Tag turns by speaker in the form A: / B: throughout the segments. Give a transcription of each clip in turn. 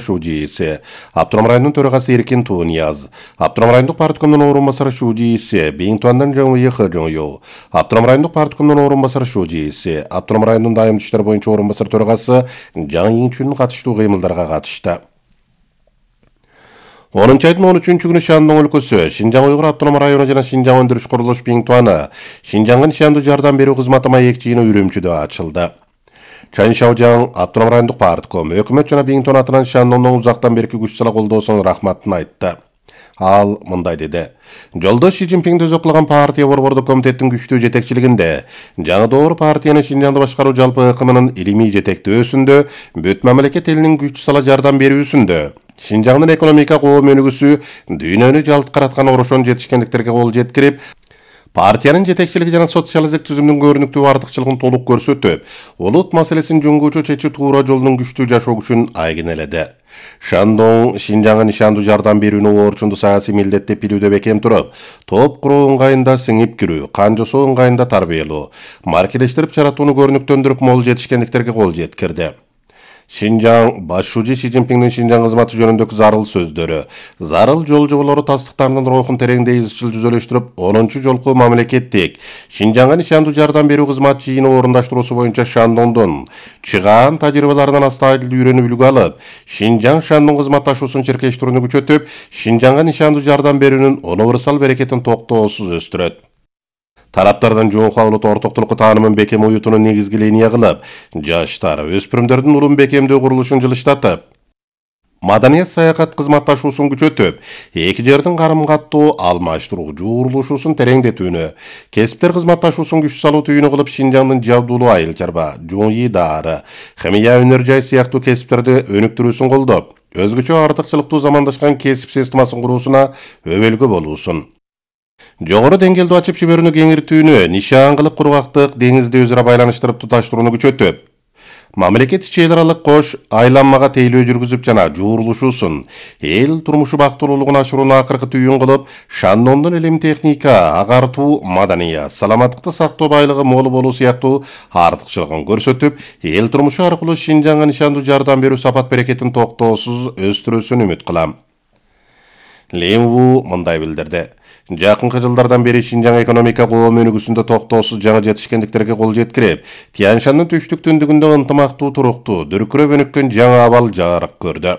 A: Шудииси, Аптурам районунун төрагасы Эркин Туунияз, Аптурам райондук парткомдун орун басары Шудииси, Бейинтуандан Жаңуи Хыжыңю, Аптурам райондук парткомдун орун басары Шудииси, Аптурам районунун дайым иштер боюнча орун басары төрагасы Жаң Ийинчүнүн катыштуу кыймылдарга катышты. 10 айдын 13 күнү Шандон өлкөсү, Шинжаң Уйгур Автоном району жана Шинжаң өндүрүш курулуш Бейинтуаны, Шинжаңга нишандуу жардам берүү кызматы маек жыйыны Үрүмчүдө ачылды. Чайын Шаужаң Аптурам райондук партком, өкмөт жана Бейинтуан атынан Шандондон узактан берки күч сала колдоосуна рахматын айтты. Ал мындай деди: Жолдош Си Цзиньпин өзү кылган партия борбордук комитеттин күчтүү жетекчилигинде жаңы доор партиянын Шинжаңды башкаруу жалпы ыкымынын илимий жетектөөсүндө, бүт мамлекет элинин күч сала жардам берүүсүндө, Шинжаңдын экономика коом өнүгүүсү дүйнөнү жалткараткан орошон жетишкендиктерге кол жеткирип, партиянын жетекчилиги жана социалдык түзүмдүн көрүнүктүү артыкчылыгын толук көрсөтүп, улут маселесин жөнгөчө чечүү туура жолдун күчтүү жашоо күчүн айгинеледи. Шандон Шинжаңга нишандуу жардам берүүнү орчундуу саясий милдет деп билүүдө бекем туруп, топ куруу ыңгайында сиңип кирүү, кан жасоо ыңгайында тарбиялоо, маркелештирип жаратууну көрүнүктөндүрүп мол жетишкендиктерге кол жеткирди. Шинжаң башчысы Си Цзиньпиндин Шинжаң кызматы жөнүндөгү зарыл сөздөрү, зарыл жол жоболору тастыктарынын рухун тереңдей изчил жүзөлөштүрүп, 10 жолку мамлекеттик Шинжаңга нишандуу жардам берүү кызмат жыйыны орундаштыруусу боюнча Шандондун чыгаан тажрыйбаларынан астайдыл үйрөнүп үлгү алып, Шинжаң Шандон кызматташуусун чиркештирүүнү күчөтүп, Шинжаңга нишандуу жардам берүүнүн универсал берекетин токтоосуз өстүрөт. Тараптардан жоң кабылып ортоктулукка таанымын бекем уютунун негизги линия кылып, жаштар, өспүрүмдөрдүн улум бекемдөө курулушун жылыштатып, маданият саякат кызматташуусун күчөтүп, эки жердин карым-каттоо алмаштыруу жуурулушуусун тереңдетүүнү, кесиптер кызматташуусун күч салуу түйүнү кылып, Шинжаңдын жабдуулуу айыл чарба, жуңи даары, химия өнөр жай сыяктуу кесиптерди өнүктүрүүсүн колдоп, өзгөчө артыкчылыктуу замандашкан кесип системасын куруусуна өбөлгө болуусун. Жогору деңгээлдүү ачып жиберүүнү кеңиртүүнү, нишан кылып кургактык деңизди өзара байланыштырып туташтырууну күчөтүп, мамлекет ичи эл аралык кош айланмага тейлөө жүргүзүп жана жуурулушуусун, эл турмушу бактылуулугун ашырууну акыркы түйүн кылып, Шандондун илим техника, агартуу, маданият, саламаттыкты сактоо байлыгы мол болуу сыяктуу артыкчылыгын көрсөтүп, эл турмушу аркылуу Шинжаңга нишандуу жардам берүү сапат берекетин токтоосуз өстүрүүсүн үмүт кылам. Лемву мындай билдирди: Жакынкы жылдардан бери Шинжаң экономика коом өнүгүүсүндө токтоосуз жаңы жетишкендиктерге кол жеткирип, Тянь-Шандын түштүк түндүгүндө ынтымактуу туруктуу, дүркүрөп өнүккөн жаңы абал жарык көрдү.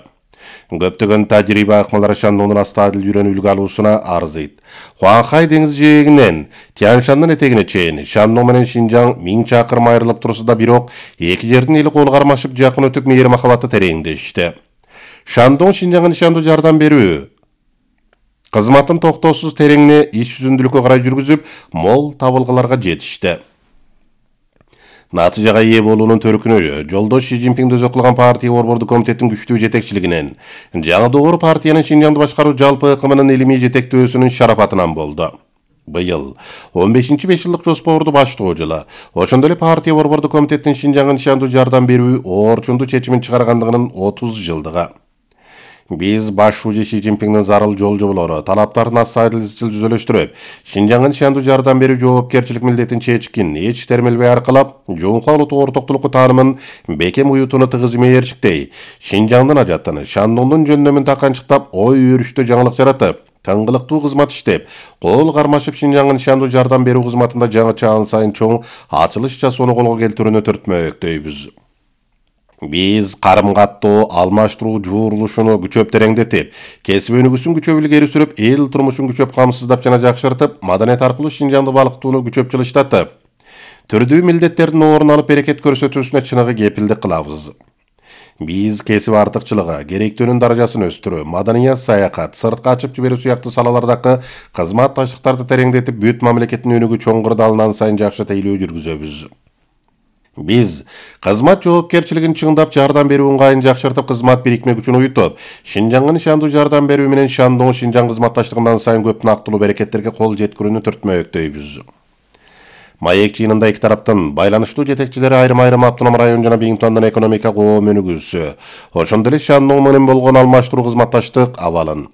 A: Көптөгөн тажрыйба акмалары Шандондун астайдыл үйрөнүп үлгү алуусуна арзыйт. Хуанхай деңиз жээгинен Тянь-Шандын этегине чейин Шандон менен Шинжаң 1000 чакырым айрылып турса да, бирок эки жердин эли кол кармашып жакын өтүп мейир махабаты тереңдешти. Шандон Шинжаңга нишандуу жардам берүү кызматын токтоосуз тереңине иш жүзүндүүлүккө карай жүргүзүп, мол табылгаларга жетишти. Натыйжага ээ болуунун төркүнү Жолдош Си Цзиньпин өзү кылган партия борбордук комитеттин күчтүү жетекчилигинен, жаңы доор партиянын Шинжаңды башкаруу жалпы ыкымынын илимий жетектөөсүнүн шарапатынан болду. Быйыл 15-5 жылдык жоспорду баштоо жылы, ошондой эле партия борбордук комитеттин Шинжаңга нишандуу жардам берүү орчундуу чечимин чыгаргандыгынын 30 жылдыгы. Биз башчысы Си Цзиньпиндин зарыл жол жоболору, талаптарын астайдыл изчил жүзөлөштүрүп, Шинжаңга нишандуу жардам берүү жоопкерчилик милдетин чечкин, эч термелбей аркылап, жоңкуа улуттук ортоктулукку таанымын бекем уютуну тыгыз мээрчиктей, Шинжаңдын ажаттыны, Шандондун жөндөмүн таканчыктап, ой өрүштө жаңылык жаратып, тыңгылыктуу кызмат иштеп, кол кармашып Шинжаңга нишандуу жардам берүү кызматында жаңы чаан сайын чоң ачылыш жасоону колго келтирүүнү түртмөктөйбүз. Биз карым-каттоо алмаштыруу жуурулушуну күчөп тереңдетип, кесип өнүгүүсүн күчөп илгери сүрүп, эл турмушун күчөп камсыздап жана жакшыртып, маданият аркылуу Шинжаңды балыктууну күчөп жылыштатып, түрдүү милдеттердин орун алып берекет көрсөтүүсүнө чыныгы кепилдик кылабыз. Биз кесип артыкчылыгы, керектөөнүн даражасын өстүрүү, маданият саякат, сыртка ачып жиберүү сыяктуу салалардагы кызматташтыктарды тереңдетип, бүт мамлекеттин өнүгүү чоңгурда алынан сайын жакшы тейлөө жүргүзөбүз. Биз кызмат жоопкерчилигин чыңдап, жардам берүү ыңгайын жакшыртып, кызмат бирикме күчүн уютуп, Шинжаңга нишандуу жардам берүү менен Шандон Шинжаң кызматташтыгынан сайын көп нактылуу берекеттерге кол жеткирүүнү түртмөктөйбүз. Маек жыйынында эки тараптын байланыштуу жетекчилери айрым-айрым Автоном район жана Бейинтуандын экономика коом өнүгүүсү, ошондой эле Шандон менен болгон алмаштыруу кызматташтык абалын,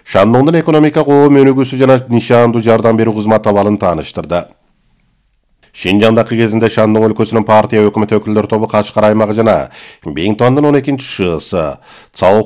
A: Шандондун экономика коом өнүгүүсү жана нишандуу жардам берүү кызмат абалын тааныштырды. Шинжаңдагы кезинде Шандон өлкөсүнүн партия өкмөт өкүлдөр тобу Кашкар аймагы жана Биңтуандын 12-шыысы